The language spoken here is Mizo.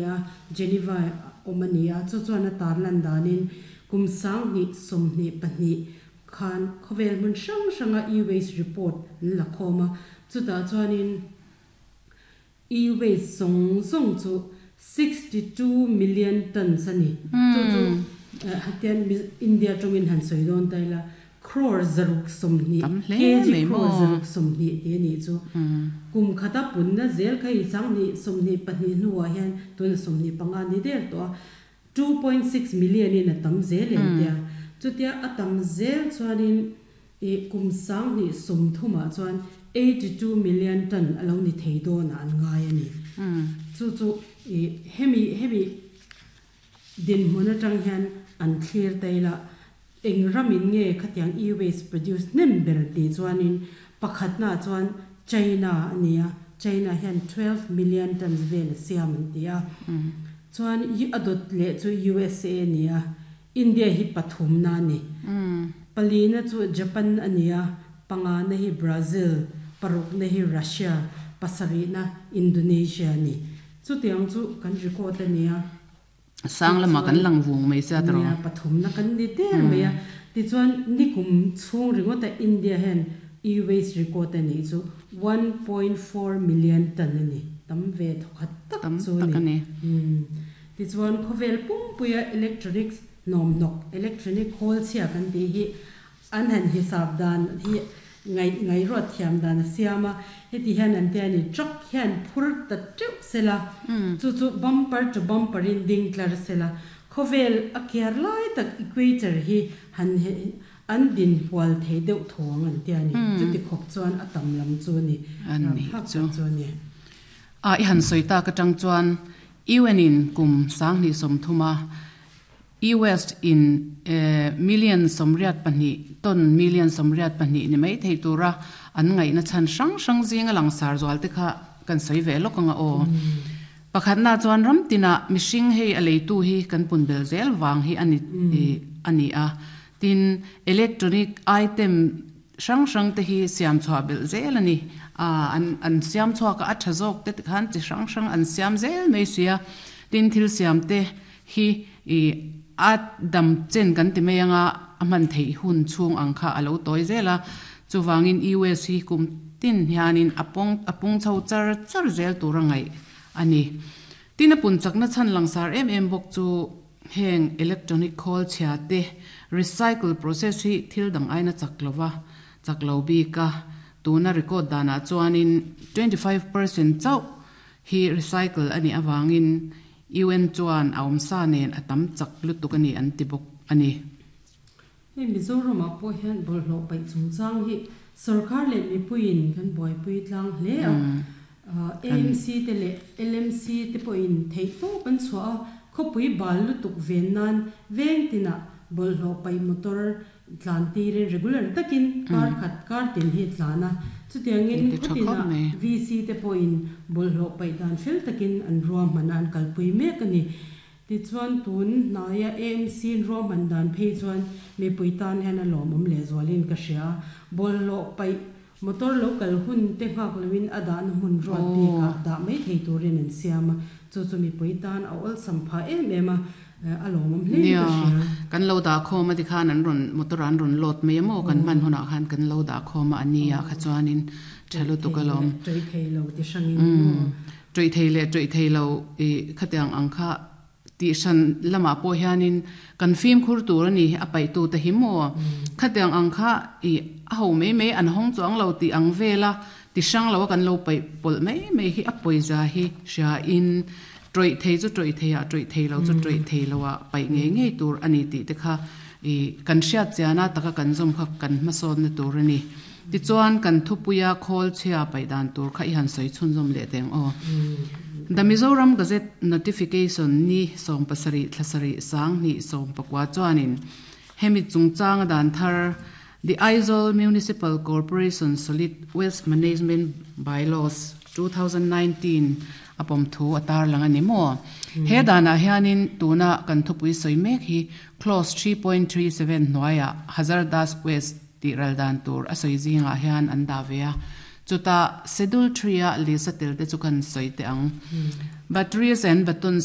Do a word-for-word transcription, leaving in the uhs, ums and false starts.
A, Geneva awm a ni a, chu chuan a tarlan danin kum sanghnih sawmhnih pahnih khan khawvel hmun hrang hranga e-waste report an la khawm a, chutah chuanin e-waste zawng zawng chu sixty two million tons a ni. Chu chu hetian India tawngin han sawi dawn ta ila, crore zaruk sawmhnih, kg crore zaruk sawmhnih tih a nih chu. Kum khata punna zel kha i sanghnih sawmhnih pahnih hnuah hian tuna sawmhnih panga ni der tawh a, two point six million in a tam zel em tia. Chutia a tam zel chuanin i kum sanghnih sawmthumah chuan eighty two million ton a lo ni thei dawnah an ngai a ni. Chu chu i hemi hemi dinhmun atang hian an thlir ta ila, eng ramin nge khatiang e-waste produce hnem ber tih chuanin pakhatnaah chuan China a ni a, China hian twelve million tons vel a siam an ti a. Chuan a dawt leh chu U S A a ni a, India hi pathumna a ni. Palina chu Japan a ni a, pangana hi Brazil, parukna hi Russia, pasarihna Indonesia a ni. Chutiang chu kan record a ni a. Sang lama kan lang vung mai sia tawh. Nia, pathumna kan ni der mai a. Tichuan nikum chhung ringawta India hian e-waste record a nih chu one point four million ton a ni. Tam ve thawkhat tak chu a ni. Tichuan khawvel pumpuia electronics nawmhnawk, electronic khawl chhia kan tih hi an han hisap dan hi ngai ngai ruat thiam dan a siam a. Heti hian an tia ni, truck hian phur ta teuh sela, chu chu bumper to bumper in ding tlar sela, khawvel a kiar lai tak equator hi han an din hual thei deuh thawng an tia ni. Chuti khawp chuan a tam lam chu ni. An ni Phak chu. tak chu ni. A i han sawi tak atang chuan U N in kum sanghnih sawmthuma e-waste in million sawmriat pahnih ton million sawmriat pahnih ni mai thei tura an ngaihna chan hrang hrang zinga langsar zual te kha kan sawi ve lawk anga aw. Pakhatna chuan ramtina mihring hei a leitu hi kan pun bel zel wang hi ani ani a. Tin electronic item hrang hrang te hi siam chhuah bel zel ani. A an an siam chhuah ka a tha zawk te khan chi hrang hrang an siam zel mai sia. Tin thil siam te hi i a dam chen kan ti mai anga a man thei hun chung ang kha a lo tawi zel a. Chuwangin U S hi kum tin hianin apong apung chho char char zel tur angai ani. Tin a pun chakna chan langsar em em bawk chu heng electronic khawl chhia te recycle process hi thil dang aina chaklova chaklo bika tuna record dana chuanin twenty five percent chau hi recycle ani awangin U N chuan a awm sa nen a tam chak lutuk ani an ti bawk ani. Hei Mizoram ah pawh hian bawlhhlawh paih chungchang hi sarkar leh mipuiin kan buaipui tlang hle a. A M C te leh L M C te pawhin theih tawp an chhuah a, khawpui bal lutuk ven nan veng tinah bawlhhlawh paih motor tlan tirin regular takin kar khat kar tin hi tlan a. Chutiangin khawtina V C te pawhin bawlhhlawh paih dan fel takin an ruahman a, an kalpui mek a ni. Tichuan tun hnaia A M C ruahman dan phei chuan mipui tan hian a lawmawm leh zualin ka hria. Bawlhhlawh paih motor lo kal hun te nghak loin a dahna hmun ruat bikah dah mai thei turin an siam a. Chu chu mipui tan a awlsam phah em em a, a lawmawm hle in ka hria. Kan lo dah khawm a ti khan an rawn motor an rawn load mai emaw kan hman hunah khan kan lo dah khawm a ania kha chuanin tha lutuk a lawm. Tui thei lo ti hrangin. Tui thei leh tui thei lo i khatiang ang kha ti hran lama pawh hianin kan fim khur tur ani a paih tu te hi maw. Khatiang ang kha i a ho mai mai an hawng chuang lo ti ang vela ti hrang lo a kan lo paih pawlh mai mai hi a pawisa hi hria in tawih thei chu tawih thei a, tawih thei lo chu tawih thei lo a paih ngei ngei tur ani tih te kha i kan hriat chiana taka kan zawm kha kan hmasawn na tur ani. Tichuan kan thupuia khawl chhia paih dan tur kha i han sawi chhun zawm leh teng aw. The Mizoram Gazette notification ni sawm pasarih thlasarih sanghnih sawm pakua chuanin hemi chungchang a dan thar The Aizawl Municipal Corporation Solid Waste Management Bylaws two thousand nineteen a pawm thu a tar lang ani maw. He danah hianin tuna kan thupui sawi mek hi clause three point three seven hnuaiah hazardous waste tih ral dan tur a sawi zingah hian an dah ve a. Chuta schedule three a list a tel te chu kan sawi te ang. Batteries and button